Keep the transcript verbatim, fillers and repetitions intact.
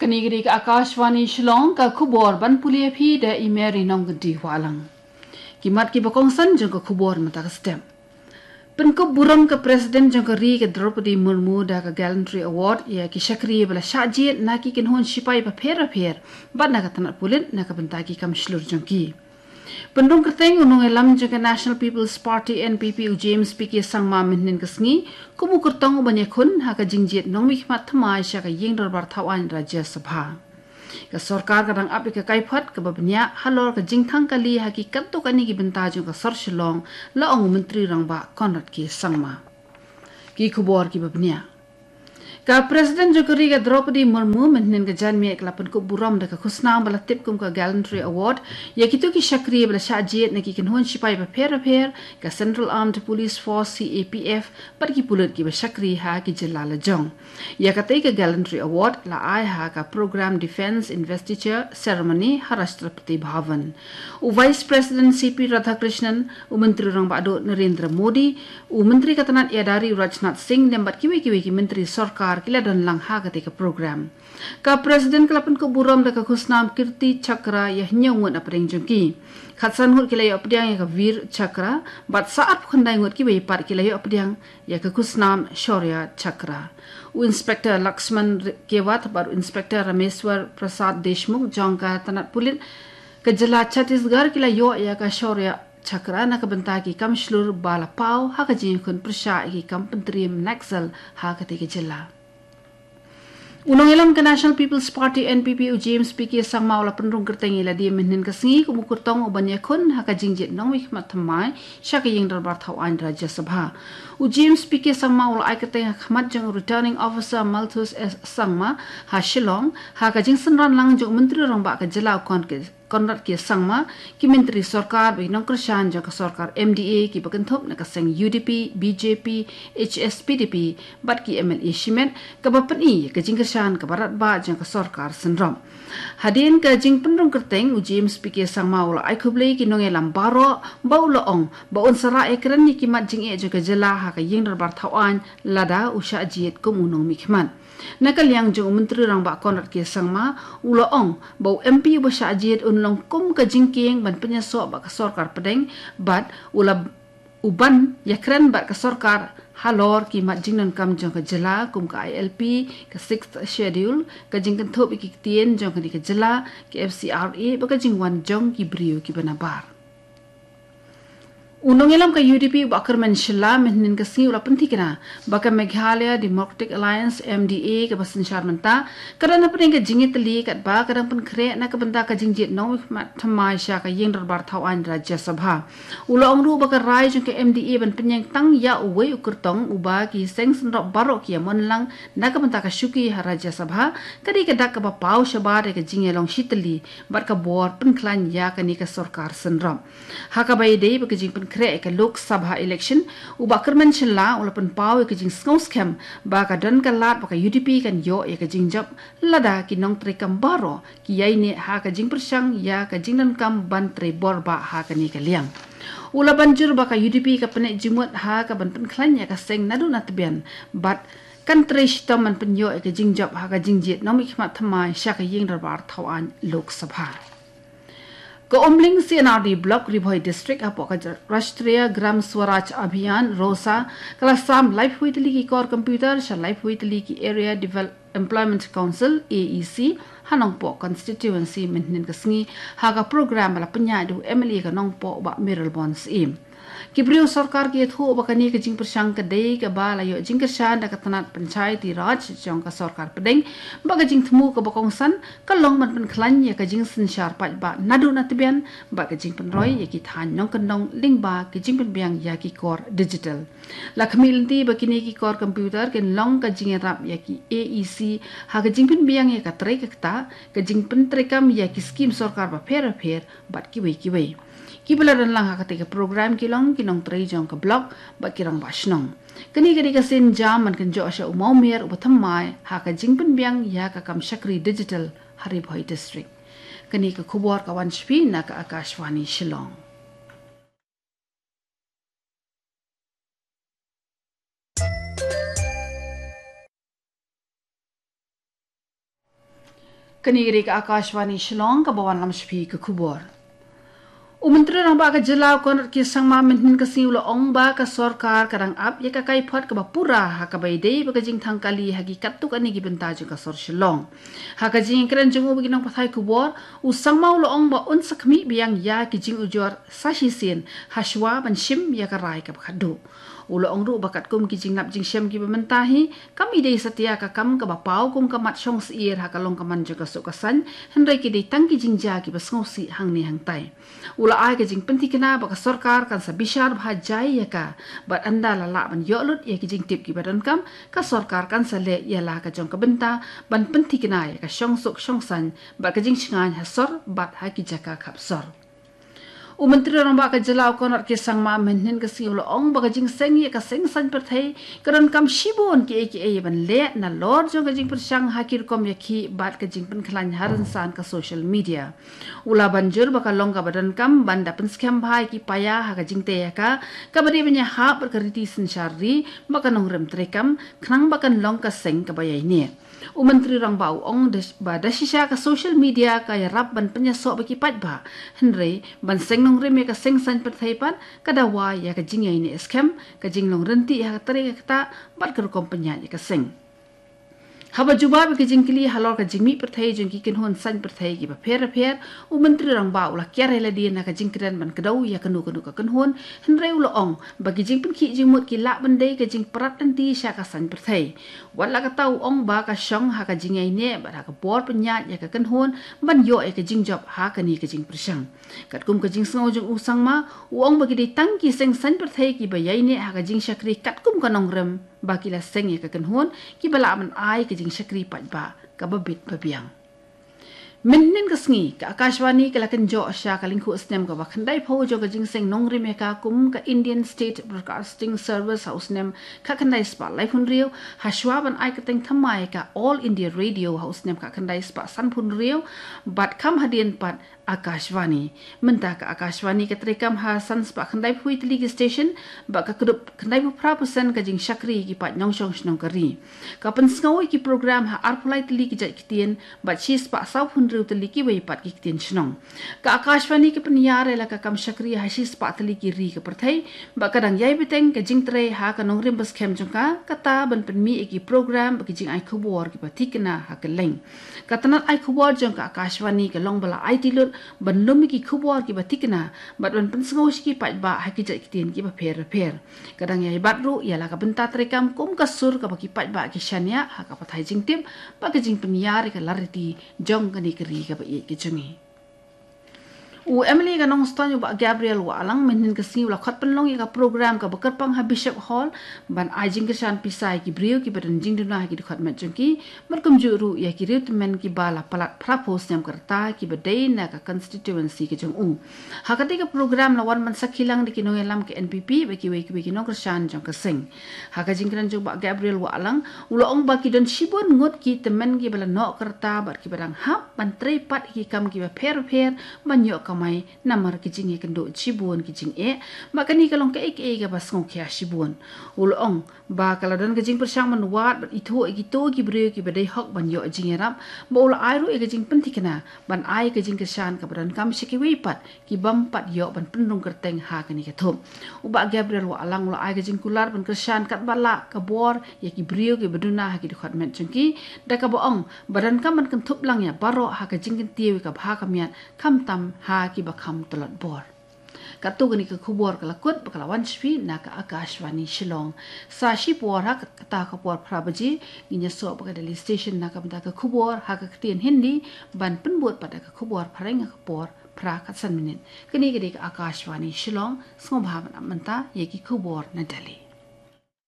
Kane ka dei ka Akashvani Shillong, ka khubor ban pule ïa phi da i Mary Nongkynti Wahlang. Ki mat kiba kongsan jong ka khubor mynta ka step. Pynkup burom ka President jong ka ri ka Draupadi Murmu da ka Gallantry Award ïa ki shakri ba la shah jied na ki kynhun shipai bapher bapher bad na ka tnat pulit na ka bynta ki kam shlur jong ki. Pynrung kyrteng u nongïalam jong ka National People's Party, N P P, u James P K Sangma mynhynnin ka sngi kum u kyrtong uban ïakhun ha ka jingjied nongmihkhmat thymmai sha ka ïing dorbar thawaiñ Rajya Sabha. Ka sorkar ka dang ap ïa ka kaiphod kaba bniah halor ka jingthang kali ha ki katto katne ki bynta jong ka sor Shillong, la ong u Myntri Rangbah Conrad K Sangma. Ki khubor kiba bniah. Ka President jong ka ri ka Draupadi Murmu mynhynnin ka janmiet ka la pynkup burom da ka khusnam ba la tip kum ka Gallantry Award ïa kito ki shakri ba la shah jied na ki kynhun shipai bapher bapher, ka Central Armed Police Force, C A P F, bad ki pulit kiba shakri ha ki jylla lajong. Ïa katei ka Gallantry Award la ai ha ka Program Defence Investiture Ceremony ha Rashtrapati Bhavan. U Vice President C P Radhakrishnan, u Myntri Rangbah Duh Narendra Modi, u Myntri ka tnat ïada ri u Rajnath Singh lem bad kiwei kiwei ki myntri sorkar ki la don lang ha katei ka program. Ka President ka la pynkup burom da ka khusnam Kirti Chakra ïa hynñiew ngut na pdeng jong ki. Khatsan ngut ki la ïoh pdiang ïa ka Veer Chakra bad sa arphew khyndai ngut kiwei pat ki la ïoh pdiang ïa ka khusnam Shaurya Chakra. U Inspector Laxman R-, Kewat bad u Inspector Rameswar Prasad Deshmukh jong ka tnat pulit ka jylla Chhattisgarh ki la ïoh ïa ka Shaurya Chakra na ka bynta ki kam shlur ba la paw ha ka jingïakhun pyrshah ïa ki kam pyntriem Naxal ha katei ka jylla. U nongïalam ka National People's Party, N P P, u James P K Sangma u la pynrung kyrteng ïa lade mynhynnin ka sngi kum u kyrtong uban ïakhun ha ka jingjied nongmihkhmat thymmai sha ka ïing dorbar thawaiñ Rajya Sabha. U James P K Sangma u la ai kyrteng ha khmat jong u Returning Officer Malthus S Sangma ha Shillong ha ka jingsynran lang jong u Myntri Rangbah ka jylla u Conrad K Sangma, ki myntri sorkar bad ki nongkyrshan jong ka sorkar M D A kiba kynthup na ka seng U D P, B J P, H S P D P bad ki M L A shimet, kaba pyni ïa ka jingkyrshan kaba radbah jong ka sorkar synrop. Hadien ka jingpynrung kyrteng, u James P K Sangma u la ai khublei ki nongïalam baroh, bad u la ong ba un sa rah ïakren ïa ki mat jingeh jong ka jylla ha ka ïing dorbar thawaiñ lada u shah jied kum u nongmihkhmat. Na ka liang jong u Myntri Rangbah Conrad K Sangma u la ong ba u M P uba shah jied un long kum ka jingkieng ban pynïasoh bad ka sorkar pdeng bad u la, u ban ïakren bad ka sorkar halor ki mat jingdonkam jong ka jylla kum ka I L P, ka Sixth Schedule, ka jingkynthup ïa ki ktien jong kane ka jylla, ka F C R A bad ka jingwan jong ki briew kiba nabar. U nongïalam ka U D P u Bah Kyrmen Shylla mynhynnin ka sngi u la pynthikna ba ka Meghalaya Democratic Alliance, M D A, kaba synshar mynta ka don hapdeng ka jingïatylli katba ka dang pynkhreh na ka bynta ka jingjied nongmihkhmat thymmai sha ka ïing dorbar thawaiñ Rajya Sabha. U la ong ruh ba ka rai jong ka M D A ban pynïeng tang ïa uwei u kyrtong uba ki seng synrop baroh ki ïamon lang na ka bynta ka shuki ha Rajya Sabha ka dei ka dak kaba paw shabar ïa ka jingïalong shitylli bad ka bor pynkhlaiñ ïa kane ka sorkar synrop. Ha kaba ïadei bad ka jingpynkhreh ïa ka Lok Sabha election, u Bah Kyrmen Shylla u la pynpaw ïa ka jingsngewskhem ba ka don ka lad ba ka U D P kan ïoh ïa ka jingjop lada ki nongtrei kam baroh ki ïaineh ha ka jingpyrshang ïa ka jingdonkam ban trei bor bah ha kane ka liang. U la ban jur ba ka U D P ka pyneh jingmut ha ka ban pynkhlaiñ ïa ka seng naduh na tbian bad kan trei shitom ban pynïoh ïa ka jingjop ha ka jingjied nongmihkhmat thymmai sha ka ïing dorbar thawaiñ Lok Sabha. Ka Umling C and R D Block, Ri Bhoi District, hapoh ka Rashtriya Gram Swaraj Abhiyan, ROSA, ka la sam laiphew tylli ki kor computer sha laiphew tylli ki Area Devel-, Employment Council, A E C, ha Nongpoh Constituency mynhynnin ka sngi ha ka program ba la pynïaid da u M L A ka Nongpoh, Bah Mayralborn Syiem. Ki briew sorkar ki ïathuh ba kane ka jingpyrshang ka dei kaba la ïoh jingkyrshan da ka tnat Panchayati Raj jong ka sorkar pdeng, bad ka jingthmu kaba kongsan ka long ban pynkhlaiñ ïa ka jingsynshar paidbah naduh na tbian bad ka jingpynroi ïa ki thaiñ nongkyndong lyngba ka jingpynbiang ïa ki kor digital. La khmih lynti ba kine ki kor computer kin long ka jingïarap ïa ki A E C ha ka jingpynbiang ïa ka trei ka ktah, ka jingpyntreikam ïa ki skim sorkar bapher bapher bad kiwei kiwei. Kiba la don lang ha katei ka program ki long ki nongtrei jong ka block bad ki rangbah shnong. Kane ka dei ka sienjam ban kynjoh sha u mawmer uba thymmai ha ka jingpynbiang ïa ka kam shakri digital ha Ri Bhoi District. Kane ka khubor ka wan sha phi na ka Akashvani Shillong. Kane ka dei ka Akashvani Shillong, kaba wanlam sha phi ka khubor. U Myntri Rangbah ka Jylla u Conrad K Sangma mynhynnin ka sngi u la ong ba ka sorkar ka dang ap ïa ka kaiphod kaba pura ha kaba ïadei bad ka jingthang kali ha ki katto katne ki bynta jong ka sor Shillong. Ha ka jingïakren jong u bad ki nongpathai khubor, u Sangma u la ong ba un sa khmih biang ïa ki jingujor sa shisien hashwa ban shim ïa ka rai kaba khatduh. U la ong ruh ba katkum ki jinglap jingshem kiba mynta hi, kam i dei satia ka kam kaba paw kum ka mat shong syier ha ka long ka man jong ka suk ka saiñ, hynrei ki dei tang ki jingjia kiba sngewsih hangne hangtai. U la ai ka jingpynthikna ba ka sorkar kan sa bishar bha jai ïa ka, bad ynda la lah ban ïoh lut ïa ki jingtip kiba donkam, ka sorkar kan sa leh ïa la ka jong ka bynta ban pynthikna ïa ka shong suk shong saiñ bad ka jingshngaiñ ha sor bad ha ki jaka khap sor. U Myntri Rangbah ka Jylla u Conrad K Sangma mynhynnin ka sngi u la ong ba ka jingseng ïa ka seng saiñ pyrthei ka donkam shibun kiei kiei ban leh nalor jong ka jingpyrshang ha ki rukom ïakhih bad ka jingpynkhlaiñ ha rynsan ka social media. U la ban jur ba ka long kaba donkam ban da pynskhem bha ïa ki paia ha ka jingtei ïa ka, kaba dei ban ïahap bad ka riti synshar ri bad ka nongrim treikam, khnang ba kan long ka seng kaba ïaineh. U Myntri Rangbah u ong da, ba da shisha ka social media ka ïarap ban pynïasoh bad ki paidbah. Hynrei ban seng nongrim ïa ka seng saiñ pyrthei pat ka dawa ïa ka jingïaineh skhem, ka jinglong rynti ha ka trei ka ktah bad ka rukom pynïaid ïa ka seng. Haba jubab ïa ka jingkylli halor ka jingmih pyrthei jong ki kynhun saiñ pyrthei kiba pher bapher, u Myntri Rangbah u la kiar ïa lade na ka jingkren ban kdew ïa kano kano ka kynhun, hynrei u la ong ba ki jingpynkhih jingmut ki lah ban dei ka jingprat lynti sha ka saiñ pyrthei. Wat la katta u ong ba ka shong ha ka jingïaineh bad ha ka bor pynïaid ïa ka kynhun ban ïoh ïa ka jingjop ha kane ka jingpyrshang. Katkum ka jingsngew jong u Sangma, u ong ba ki dei tang ki seng saiñ pyrthei kiba ïaineh ha ka jingshakri katkum ka nongrim ba ki la seng ïa ka kynhun, kiba lah ban ai ka jingshakri paidbah kaba bit ba biang. Mynhynnin ka sngi, ka Akashvani ka la kynjoh sha ka lyngkhuh snem kaba khyndai phew jong ka jingseng nongrim ïa ka kum ka Indian State Broadcasting Service ha u snem khatkhyndai spah laiphew hynriew, hashwa ban ai kyrteng thymmai ka All India Radio ha u snem khatkhyndai spah sanphew hynriew, bad kham hadien pat Akashvani. Mynta ka Akashvani ka treikam ha san spah khyndai phew tylli ki station, bad ka kdup khyndai phew phra percent ka jingshakri ki paid nongshong shnong ka ri. Ka pynsngew ïa ki program ha arphew lai tylli ki jait ktien, bad shi spah sawphew hynriew tylli kiwei pat ki ktien shnong. Ka Akashvani ka pynïar ïa la ka kam shakri ha shi spah tylli ki ri ka pyrthei, bad ka dang ïai bteng ka jingtrei ha ka nongrim baskhem jong ka, kata ban pynmih ïa ki program bad ki jingai khubor kiba thikna ha kylleng. Ka tnat ai khubor jong ka Akashvani ka long ba la aiti lut ban lum ïa ki khubor kiba thikna, bad ban pynsngew sha ki paidbah ha ki jait ktien kiba pher bapher. Ka dang ïai bat ruh ïa la ka bynta treikam kum ka sur kaba ki paidbah ki shaniah ha ka pathai jingtip bad ka jingpynïar ïa ka lariti jong kane ka ri kaba ïeit ka jong ngi. U MLA ka Nongstoiñ u Bah Gabriel Wahlang mynhynnin ka sngi u la khot pynlong ïa ka program kaba kyrpang ha Bishop Hall ban ai jingkyrshan pisa ïa ki briew kiba don jingduna ha ki dkhot met jong ki, bad kumjuh ruh ïa ki riewtymmen kiba la palat phra phew snem ka rta kiba dei na ka constituency ka jong u. Ha katei ka program la wan ban sakhi lang da ki nongïalam ka NPP bad kiwei kiwei ki nongkyrshan jong ka seng. Ha ka jingkren jong Bah Gabriel Wahlang, u la ong ba ki don shibun ngut ki tymmen kiba la noh ka rta bad kiba dang hap ban trei pat ïa ki kam kiba pher bapher ban ïoh kamai namar ki jingïakynduh shibun ki jingeh, bad kane ka long kaei kaei kaba sngewkhia shibun. U la ong ba ka la don ka jingpyrshang ban wad bad ithuh ïa kito ki briew kiba dei hok ban ïoh jingïarap, bad u la ai ruh ïa ka jingpynthikna ban ai ka jingkyrshan kaba donkam sha kiwei pat ki bym pat ïoh ban pynrung kyrteng ha kane ka thup. U Bah Gabriel Wahlang u la ai ka jingkular ban kyrshan katba lah ka bor ïa ki briew kiba duna ha ki dkhot met jong ki, da kaba ong ba donkam ban kynthup lang ïa baroh ha ka jingkyntiew ïa ka bha ka miat, khamtam ha kiba kham tlot bor. Katto kane ka khubor ka la kut bad ka la wan sha phi na ka Akashvani Shillong. Sa shipor ha kata ka por phra baje ngin ïasoh bad ka Delhi Station na ka bynta ka khubor ha ka ktien Hindi, ban pynbud pat da ka khubor phareng ha ka por phra khatsan minit. Kane ka dei ka Akashvani Shillong, sngewbha ban ap mynta ïa ki khubor na Delhi.